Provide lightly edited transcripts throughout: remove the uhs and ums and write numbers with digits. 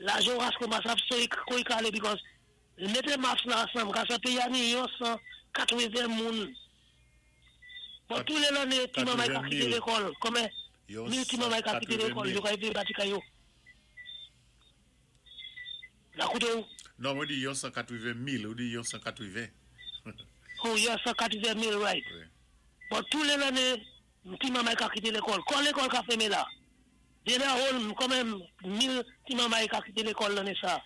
Lajan ras so kou i ka alé because mété maths la ansanm, kase péyi a ni yon 180 moun. Bon, tou lé lanné, ti manmay ka kité lékòl, konbyen mil ti manmay ka kité lékòl, yo ka édé bati kay yo. La kouté ou? Non, mwen di yon 180 mil, ou di yon 180. Oh, yon 180 mil, right. Bon, tou lé lanné, ti manmay ka kité lékòl. Kon lékòl ka fèmé la, de la whole, konbyen mil ti manmay ka kité lékòl lanné sa,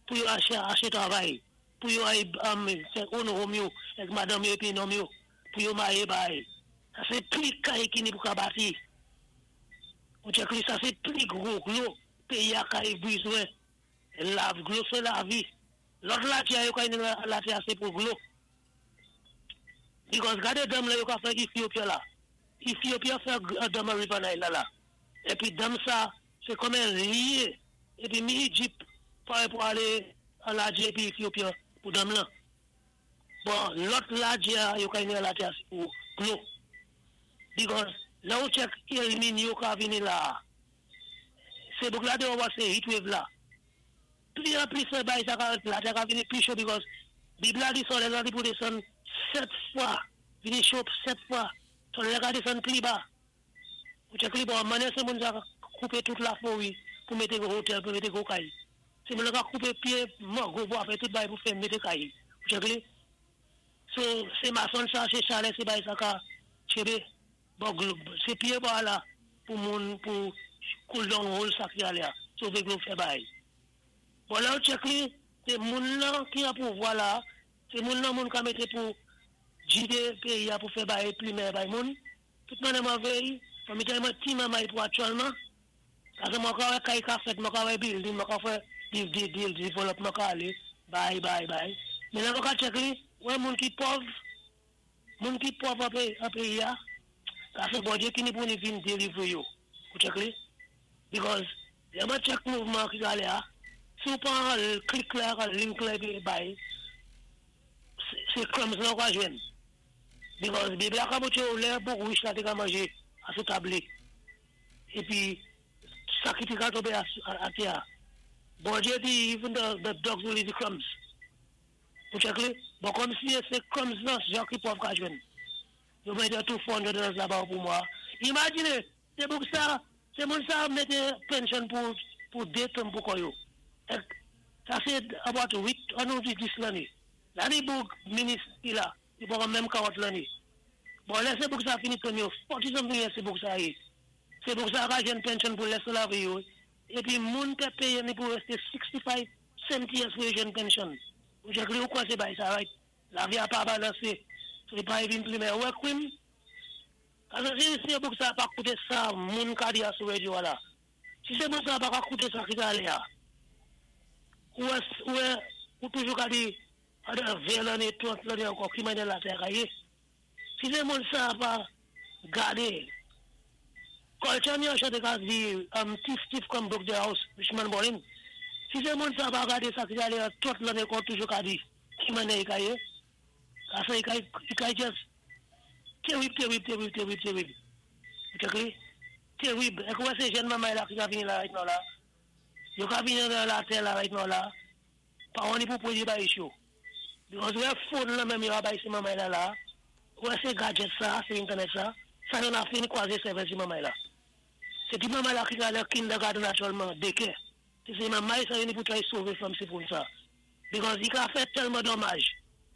pou yo aché travay, pou yo ay fè own home yo, ak madanm yo épi nonm yo, pou yo mayé bay. Sa sé pli kay ki ni pou ka bati. Ou check li, sa sé pli gwo dlo péyi a kay bizwen. La dlo sé lavi. Lòt latè yo kay latè sé pou dlo. Because gadé dam la yo ka fè Ethiopia la. Ethiopia fè dam River Nile la la. Épi dam sa, sé konbyen lyé. Épi mi Égypte, pou alé an ladjé épi Ethiopia pou dam la. Bon, lòt ladjé yo kay ni latè sé pou dlo. Because la ou check El Niño ka vini la. Sé bouk la de wè sé heat wave la. Pli an pli sé bay sa ka latè ka vini pli cho because Bib la di solèy la di pou désann sèt fwa, vini cho sèt fwa. Solèy la ka désann pli ba. Ou check li bon, mannyè sé moun sa koupé tout la forêt pou mété gwo hotel, pou mété gwo kay. Sé moun ka koupé pyé mango pou fè tout bay pou fè mété kay. Ou check li? So, sé mason sa, sé chalè, sé bay sa ka tchébé. Bon, sé pyé bwa la pou moun pou cool down whole sa ki alé a. Sové dlo fè bay. Bon, la ou check li, sé moun lan ki an pouvwa la, sé moun lan moun ka mété pou jidé péyi a pou fè bay plimè bay moun. Tout moun mwen véy, mwen mété mwen ti manmay pou aktyèlman. Paské mwen ka wè kay ka fèt, mwen ka wè building, mwen ka fè deal, development ka alé, bay, bay, bay. Men la mwen ka check li, wè moun ki pòv an péyi a, paské Bondyé ki ni pou ni vin deliver yo. Ou check li? Because, lè mwen check mouvman ki alé a, si ou pran click la, link la épi bay, sé crumbs la ou ka jwenn. Because Bib la ka montré ou lè bouk rich la té ka manjé asou tab li. Épi, sa ki té ka tonbé atè a. Bondyé di, even the dogs will eat the crumbs. Ou check li? Bon, kòm si sé crumbs lan, jan ki pòv ka jwenn. Yo mété tou $400 la ba ou pou mwa. Imajiné, sé bouk sa, sé moun sa mété pension pou dé term pou kò yo. Ek, sa sé about 8, an nou di 10 lanné. La ni bouk minis ki la, li poko menm 40 lanné. Bon, lè sé bouk sa fini term yo, 40 something years sé bouk sa yé. Sé bouk sa ka jwenn pension pou lès lavi yo. Épi moun pé péyé ni pou resté 65, 70 years pou yo jwenn pension. Ou check li ou kwa sé bay sa, right? Lavi a pa balansé. So, li pa vin plimè. Wè kwim? Paské si sé bouk sa pa kouté sa, moun ka di a sou radio la. Si sé bouk sa pa ka kouté sa ki ka alé a. Ou wè, ou toujou ka di, adan 20 lanné, 30 lanné ankò, ki mannyè latè ka yé. Si sé moun sa pa gadé, Culture ni an chanté ka di, thief, thief come broke the house, rich man balling. Si sé moun sa pa gadé sa ki alé a 30 lanné kon toujou ka di, ki mannyè i ka yé. Asa i ka just terrible, terrible, terrible, terrible, terrible. Ou check li? Terrible. Ek wè sé jèn manmay la ki ka vini la right now la. Yo ka vini nan latè la right now la. Pa ni pou pwéyé bay cho. Because wè phone la menm yo a bay si manmay la la. Wè sé gadget sa, sé internet sa. Sa yon a fini kwaze sèvèl si manmay la. Sé ti manmay la ki ka nan kindergarten aktyèlman, daycare. Sé manmay sa yo ni pou try sové from si phone sa. Because i ka fè tèlman domaj.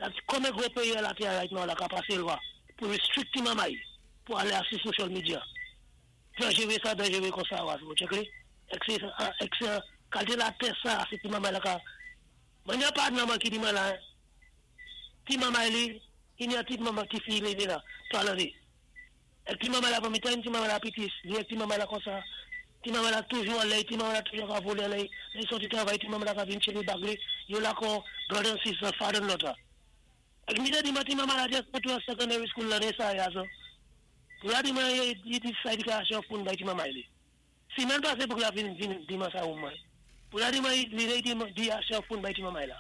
That konbyen gwo péyi latè right now la ka pasé lwa pou restrict ti manmay pou alé asou social media. Danjéré sa, danjéré kon sa waz. Ou check li? Ek sé kalité latè sa, sé ti manmay la ka. Mwen yon pa nan man ki di man la. Ti manmay li, i ni an ti manman ti fi li ni la, 3 lanné. Ek ti manmay la pou mi tan, ti manmay la piti, li ek ti manmay la kon sa. Ti manmay la toujou an lè, ti manmay la toujou ka volé lè, lè soti travay, ti manmay la ka vin cheve bag li, yo la kon brother and sister, father and daughter. Ek mi te di man ti manmay la just put to secondary school lanné sa ya so. Pou la di man yi decide ka aché phone bay ti manmay li. Si men pasé pou la vin di man sa ou mwen. Pou la di man li li di aché phone bay ti manmay la.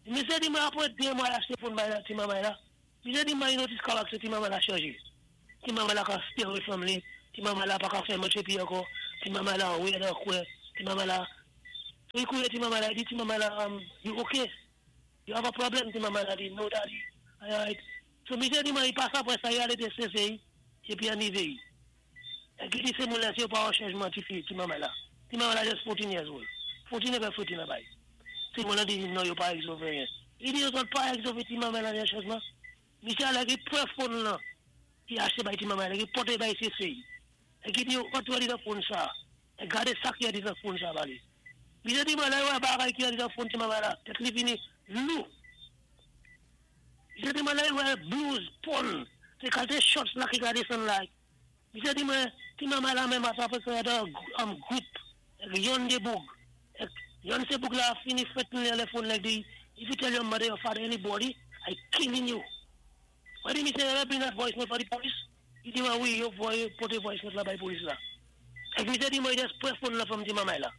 Mi se di man apwè 2 mwa aché phone bay la ti manmay la. Mi se di man yi notice karaktè ti manmay la chanje. Ti manmay la ka stay away from li. Ti manmay la pa ka fè manché pi ankò. Ti manmay la wè nan kwè. Ti manmay la. Li kouwé ti manmay la, i di ti manmay la, "You okay? You have a problem?" Ti manmay la di, "No, Daddy, I alright." So misyé di mwen i pasa apwé sa, i alé té CCI, épi an i véyi. Épi i di sé moun la si yo pa wè chanjman ti fi, ti manmay la. Ti manmay la just 14 years old. 14 épi 14 la bay. Ti moun la di, non, yo pa rézòv anyen. I di yo zòt pa rézòv ti manmay la yon chanjman. Misyé alé ki pwan phone lan, ki achté bay ti manmay la, ki pòté bay CCI. É ki di yo, antré nan phone sa, é gadé sa ki an phone sa ba li. Misyé di mwen la, wè bagay ki an phone ti manmay la, tèt li vini lou. Misyé di mwen la, wè blues, porn, sé kalité shorts la ki gadé san la. Misyé di mwen, ti manmay la menm asa fè sa dan an gwoup, yon dé boug. Yon sé boug la fini threaten li lè phone la di, "If you tell your mother, your father, anybody, I killing you." Mwen di misyé, ever bring that voice note for the police? I di mwen, wi, yo voyé pòté voice note la bay polis la. É misyé di mwen, just pwan phone la from ti manmay la.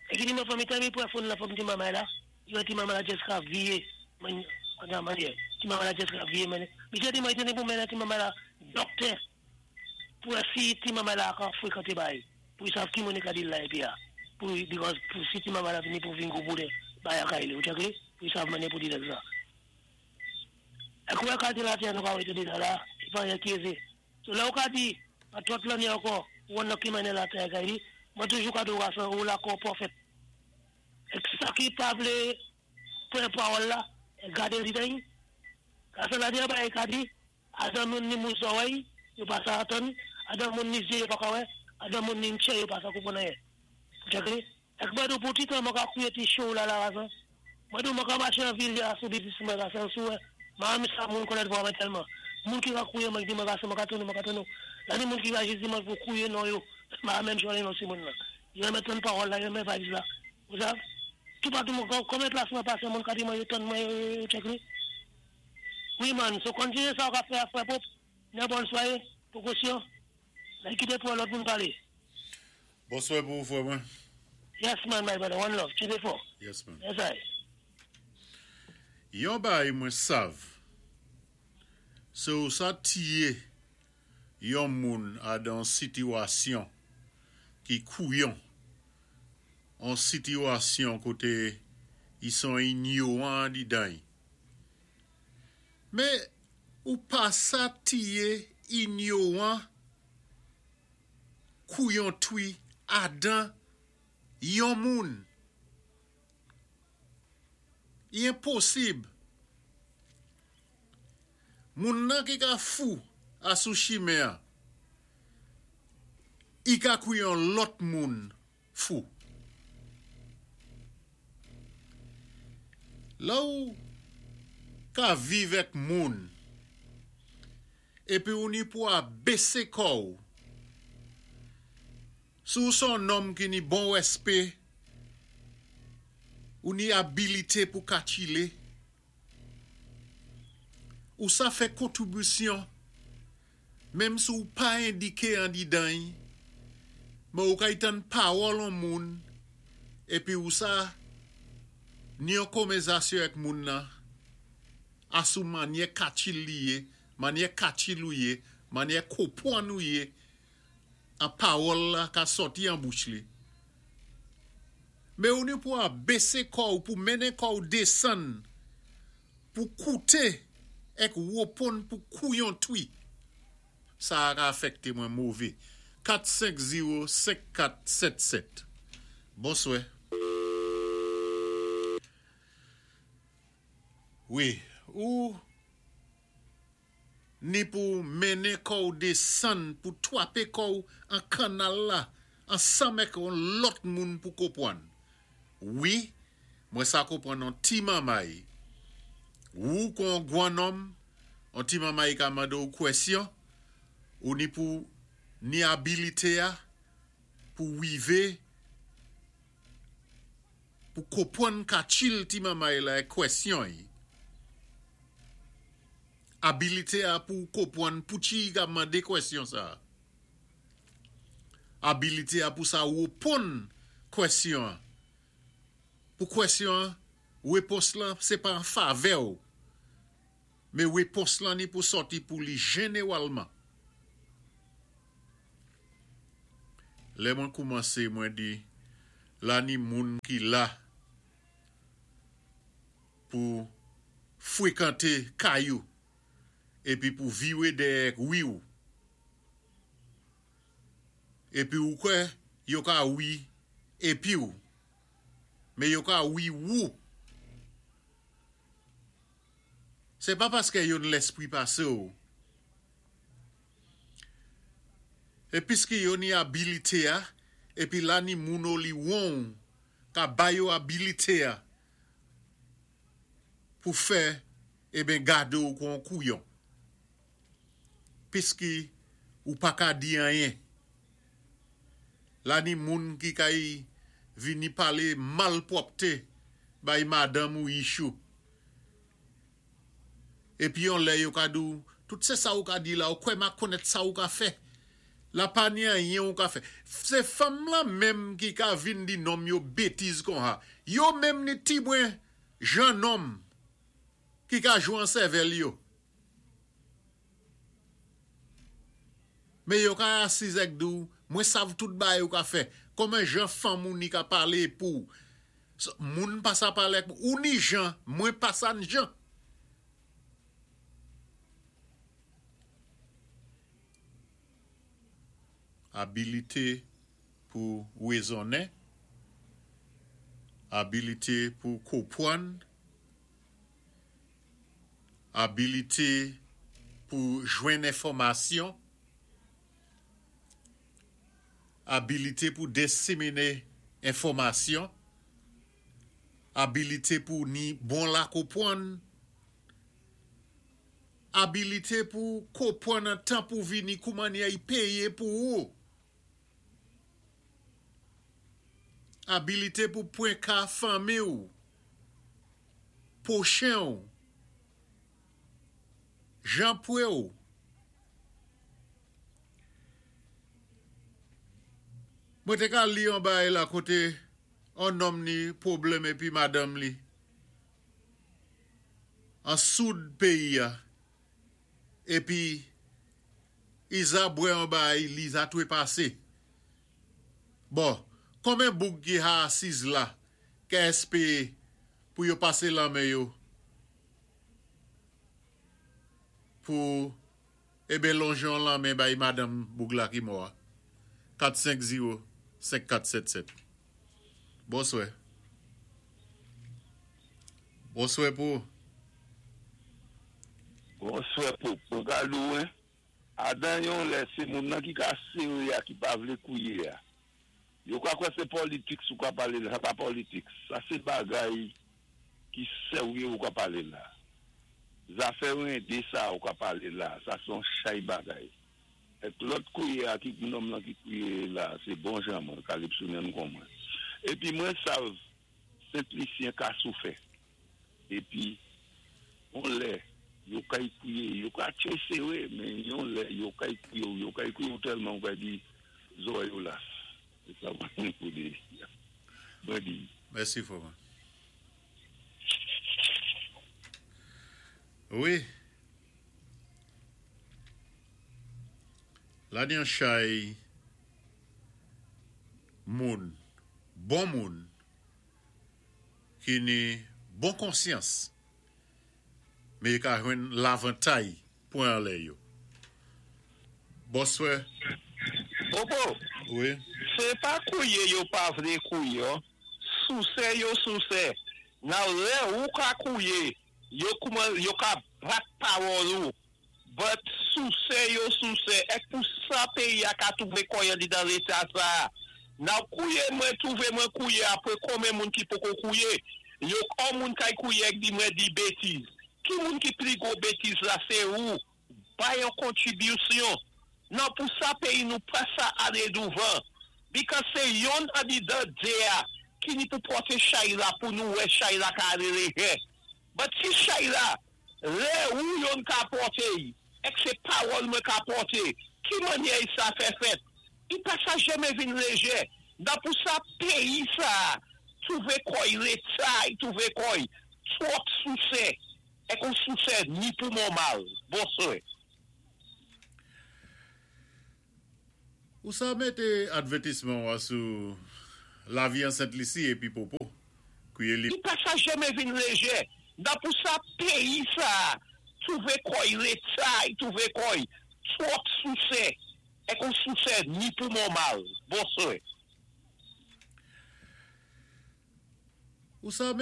É ki di mwen, fanmi tell me pwan phone la from ti manmay la, yo ti manmay la just ka viyé, mwen, an manyè, ti manmay la just ka viyé men. Misyé di mwen, i téni pou mennen ti manmay la doktè, pou si ti manmay la ka fwékanté bay, pou i sav ki moun ka di la épi a, pou, because pou si ti manmay la vini pou vin kou boude, bay a kay li, ou tchèké? Pou i sav mennen pou di sa. É kouwè kalité la nou ka wété déja la, i pa anyen ki ézé. So la ou ka di, a twòp lanné ankò, ou an nan ki mennen la tè kay li, mwen toujou ka di ou gason, ou la kon pwofèt. É sa ki pa vlé pwan pawòl la, é gadé li den. Gason la di, ba, é ka di, adan moun ni mou zòwèy, yo pa sa atann, adan moun ni zyé yo pa ka wè, adan moun ni ntchè yo pa sa konpwann anyen. Tchèké? Ek mwen di pou ti tan mwen ka kouye ti show la la gason. Mwen di mwen ka maché an vil ya sou biznis mwen gason sou wè. Ma ami sa moun konèt vwa mwen tèlman. Moun ki ka kouye mwen di mwen gason mwen ka tounou, mwen ka tounou. La ni moun ki ka jis di mwen pou kouye non yo. Ma menm chwane non si moun la. Yo renmen tann pawòl la, yo renmen vibes la. Ou sav? Tout patou mwen, konbyen plas mwen pasé, moun ka di mwen yo tann mwen yo check li. Wi man, so kontiné sa ou ka fè a frè Pop. Nen bòn swayé, pwokosyon. Lè kité pou lòt moun palé. Bonswa pou frè mwen. Yes man, my brother, one love. Tchéké fò. Yes man. Yes I. Yon bay mwen sav, sé ou sa tiyé yon moun adan sitiyasyon ki kouyon, an sitiyasyon koté i son inyowan di dan. Mé ou pa sa tiyé inyowan kouyon twi adan yon moun. I enposib. Moun nan ki ka fou asou chimen an, i ka kouyon lòt moun fou. La ou ka viv èk moun, épi ou ni pou a bésé kò ou. Si ou son nonm ki ni bon wèspé, ou ni abilité pou ka chilé, ou sa fè kontribisyon, menm si ou pa endiké an di dan, mé ou ka y tann pawòl an moun, épi ou sa ni yon konvèzasyon èk moun nan, asou manyè katchil li yé, manyè katchil ou yé, manyè konpwann ou yé, an pawòl la ka sòti an bouch li. Mé ou ni pou a bésé kò ou pou mennen kò ou désann pou kouté èk woponn pou kouyon twi. Sa a afèkté mwen mové. 450 5477. Bonswè. Wi, ou ni pou mennen kò ou désann pou twapé kò ou an kannal la ansanm èk on lòt moun pou konpwann. Wi, mwen sa konpwann on ti manmay. Ou kon gwan nonm, on ti manmay ka mandé ou kwèsyon, ou ni pou ni abilité a pou wivé pou konpwann katchil ti manmay la èk kwèsyon yi. Abilité a pou konpwann pou ti ka mandé kwèsyon sa. Abilité a pou sa woponn kwèsyon. Pou kwèsyon, wépons lan, sé pa an favè ou. Mé wépons lan ni pou sòti pou li jénéwalman. Lè mwen koumansé, mwen di, La ni moun ki la pou fwekanté kay ou épi pou viwé dèyè wi ou. Épi ou kwè yo ka wi épi ou, men yo ka wi wou. Sé pa paskè yo ni lèspri pasé ou. É piski yo ni abilité a, épi la ni moun o li won'w ka ba yo abilité a pou fè eben gade'w kon on kouyon. Piski ou pa ka di anyen. La ni moun ki kay vini palé malpwòpté bay madanm ou yichou. Epi yon lè yo ka di w, tout se sa ou ka di la, ou kwè ma konèt sa ou ka fè. La pa ni anyen ou ka fè. Se fanm lan menm ki ka vin di nonm yo betiz konha. Yo menm ni ti bwen jan nonm ki ka jwe an sèvèl yo. Men yo ka asiz èk di w, mwen sav tout bagay ou ka fè. Kòman jan fanm ou ni ka pale pou Moun pa sa pale ak ou ni jan, mwen pa sa n jan. Abilite pou rezonnen, abilite pou kopwann, abilite pou jwenn enfòmasyon. Abilite pou desimine enfòmasyon, abilite pou ni bon lakopwann, abilite pou kopwann an tan pou vini kou mannyè y peye pou ou, abilite pou pwen ka fanmi ou, pwochen ou, jan pwe ou. Mwen té ka li yon bagay la koté on nonm ni pwoblèm épi madanm li an soud péyi a épi Iza bwè yon bagay li za twepasé. Bon, konben boug ki ha asiz la kè èspéé pou yo pasé lanmen yo pou Eben lonje yon lanmen bay madanm boug la ki mò a. 4 5 0 5 4 7 7 Bonswè. Bonswè pou ou. Bonswè pou mwen ka di w Adan yon lè se moun nan ki ka sere a ki pa vle kouye a. Yo ka kwè se politics ou ka pale la, sa pa politics. Sa se bagay ki serye ou ka pale la. Zafè rende sa ou ka pale la, sa se yon chay bagay. Ek lòt kouye a ki nonm lan ki kouye la, se bon jan mwen, Calypsonian kon mwen. Epi mwen sav Sent Lisyen ka soufè. Epi yon lè yo kay kouye, yo ka tye sere men yon lè yo kay kouye w, yo kay kouye w tèlman ou kay di zòrèy ou las. Se sa mwen gen pou di. Mwen di. Mèsi frè mwen. Wi. La gen yon chay moun, bon moun. Ki ni bon konsyans, men yo ka jwenn lavantay pwen anlè yo. Bonswè. Popo, Wi. Se pa kouye yo pa vle kouye oh, souse yo souse. Now lè ou ka kouye, yo kouman yo ka bat pawòl ou. But souse yo souse ek pou sa peyi a ka twouve kò y andidan leta sa a. Now kouye mwen twouve mwen kouye apre konben moun ki poko kouye. Yo on moun kay kouye ek di mwen di betiz. Ki moun ki pli gwo betiz la se ou. Bay on kontribisyon. Now pou sa peyi nou pa sa ale douvan. Because se yonn andidan 2 a ki ni pou pòte chay la pou nou wè chay la ka ale lejè. But si chay la Lè ou yonn ka pòte y, èk se pawòl mwen ka pòte, ki mannyè y sa fè fèt? I pa sa janmen vin lejè. Nan pou sa peyi sa a twouve kò y leta y twouve kò y twòp sousè, èk on sousè ni pou mòmal. Bonswe. Ou sa mete advètisman ou a sou. Lavi an Sent Lisi épi Popo. Kouwé li Li pa sa janmen vin léjé. Dan pou sa péyi sa, twouvé kò'y léta, i twouvé kò'y twòp sousé. É kon sousé ni pou bon mal. Bonswé. Ou sa.